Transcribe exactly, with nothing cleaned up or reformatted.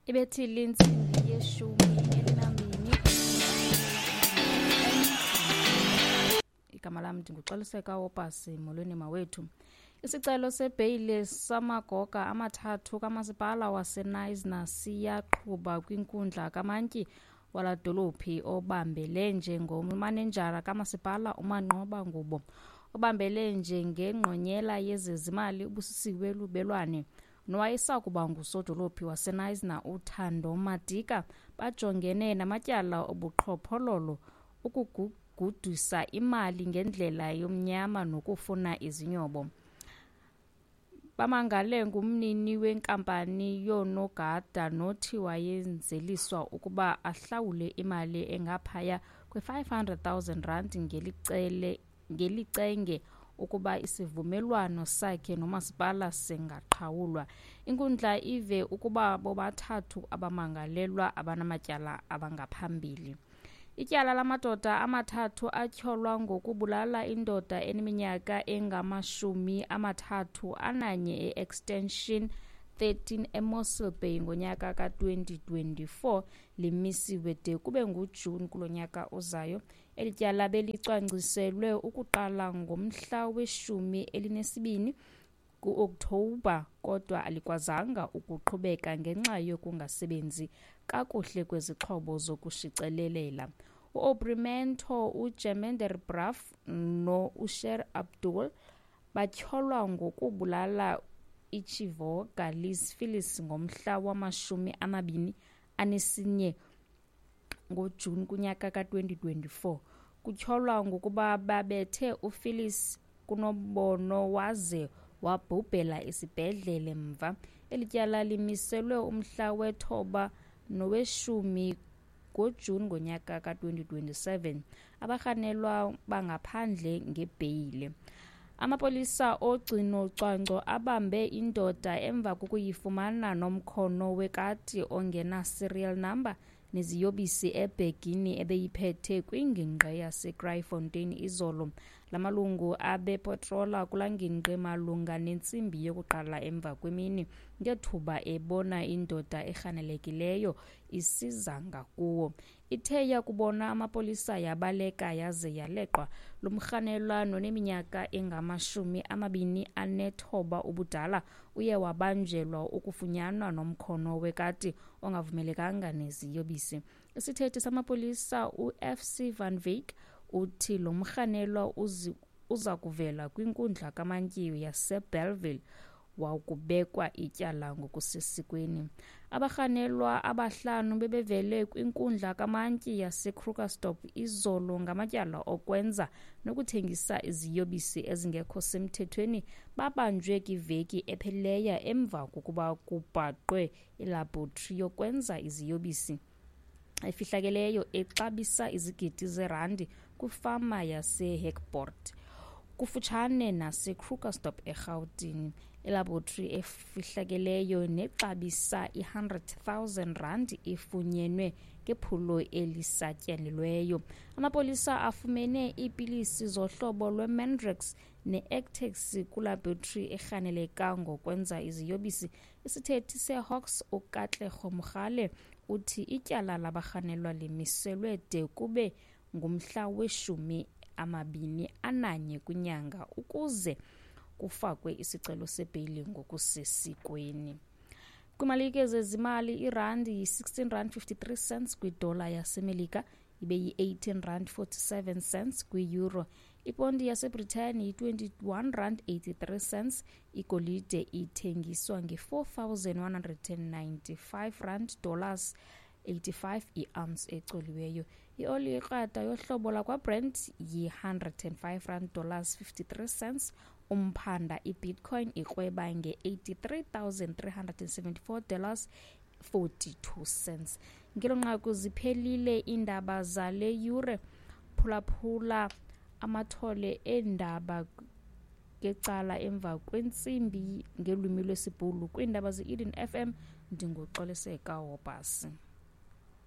Ibethile intsimbi yeshumi elinambini. Igama lam ndinguXoliseka Wopasi. Molweni mawethu. Isicelo sebheyile samagoga amathathu kamasipala waseKnysna siyaqhuba kwinkundla kamantyi wala dolophi. Obambele njengomanejala kamasipala uManqoba Ngubo, obambele njengengqonyela yezezimali uBusisiwe Lubelwane, nowayesakuba ngusodolophi waseKnysna uThando Madika bajongene namatyala obuqhophololo, ukugudisa imali ngendlela yomnyama nokufuna izinyobo. Bamangale ngumnini wenkampani yoonogada nothi wayenzeliswa ukuba ahlawule imali engaphaya kwe-five hundred thousand rand ngelicele ngelicenge ukuba isivumelwano sakhe nomasipala singaqhawulwa. Inkundla ive ukuba bobathathu abamangalelwa abanamatyala abangaphambili. Ityala lamadoda amathathu atyholwa ngokubulala indoda eneminyaka engamashumi amathathu ananye e-Extension thirteen eMossel Bay ngonyaka ka-twenty twenty-four limisiwe de kube nguJuni kulo nyaka ozayo. Eli tyala belicwangciselwe ukuqala ngomhla weshumi elinesibini ku-Okthobha, kodwa alikwazanga ukuqhubeka ngenxa yokungasebenzi kakuhle kwezixhobo zokushicelelela. U-Aubrey Mento, uJemender Braff no-Usher Abdul batyholwa ngokubulala iChivoga Liz Phillips ngomhla wamashumi amabini anesinye ngoJuni kunyaka ka-twenty twenty-four. Kutyholwa ngokuba babethe uPhillips kunobono waze wabhubhela esibhedlele mva. Eli tyala limiselwe umhla wethoba noweshumi ngoJuni ngonyaka ka-twenty twenty-seven. Abarhanelwa bangaphandle ngebheyile. Amapolisa ogcino cwangco abambe indoda emva kokuyifumana nomkhono wekati ongena serial number neziyobisi ebhegini ebeyiphethe kwingingqi yaseKraaifontein izolo. Lamalungu abepatrola kulaa ngingqi malunga nentsimbi yokuqala emva kwemini ngethuba ebona indoda erhanelekileyo isiza ngakuwo. Ithe yakubona amapolisa yabaleka yaze yaleqwa. Lo mrhanelwa noneminyaka engamashumi amabini anethoba ubudala uye wabanjelwa ukufunyanwa nomkhono wekati ongavumelekanga neziyobisi. Isithethi samapolisa u-F C Van Wyk uthi lo mrhanelwa uza kuvela kwinkundla kamantyi yaseBellville wakubekwa ityala ngokusesikweni. Abarhanelwa abahlanu bebevele kwinkundla kamantyi yaseKrugersdorp izolo ngamatyala okwenza nokuthengisa iziyobisi ezingekho semthethweni. Babanjwe kwiveki ephelileyo emva kokuba kubhaqwe ilabhoratri yokwenza iziyobisi efihlakeleyo exabisa izigidi zerandi kwifama yaseHekpoort kufutshane naseKrugersdorp eRhawutini. Ilabhoratri efihlakeleyo nexabisa i-hundred thousand rand ifunyenwe ngephulo elisatyelelweyo. Amapolisa afumene iipilisi zohlobo lweMandrax ne-Ectex kwilabhoratri erhaneleka ngokwenza iziyobisi. Isithethi seHawks uKatlego Mogale uthi ityala labarhanelwa limiselwe de kube ngumhla weshumi amabini ananye kwinyanga ukuze kufakwe isicelo sebheyile ngokusesikweni. Kwimalike zezimali, irandi yi-sixteen rand fifty-three cents kwidola yaseMelika, ibe yi-eighteen rand forty-seven cents kwi-euro. Iponti yaseBrithani yi-twenty-one rand eighty-three cents. Igolide ithengiswa nge-four thousand one hundred and ninety-five rand dollars eighty-five i-ounce ecoliweyo. Ioli yekrwada yohlobo lakwaBrent yi-hundred and five rand dollars fifty-three cents. Umphanda iBitcoin ikrweba nge-eighty-three thousand three hundred and seventy-four dollars forty-two cents. Ngelo nqaku ziphelile iindaba zale yure. Phulaphula amathole eendaba ngecala emva kwentsimbi ngelwimi lwesiBhulu kwiindaba ze-Eden F M. NdinguXoliseka Wobhasi.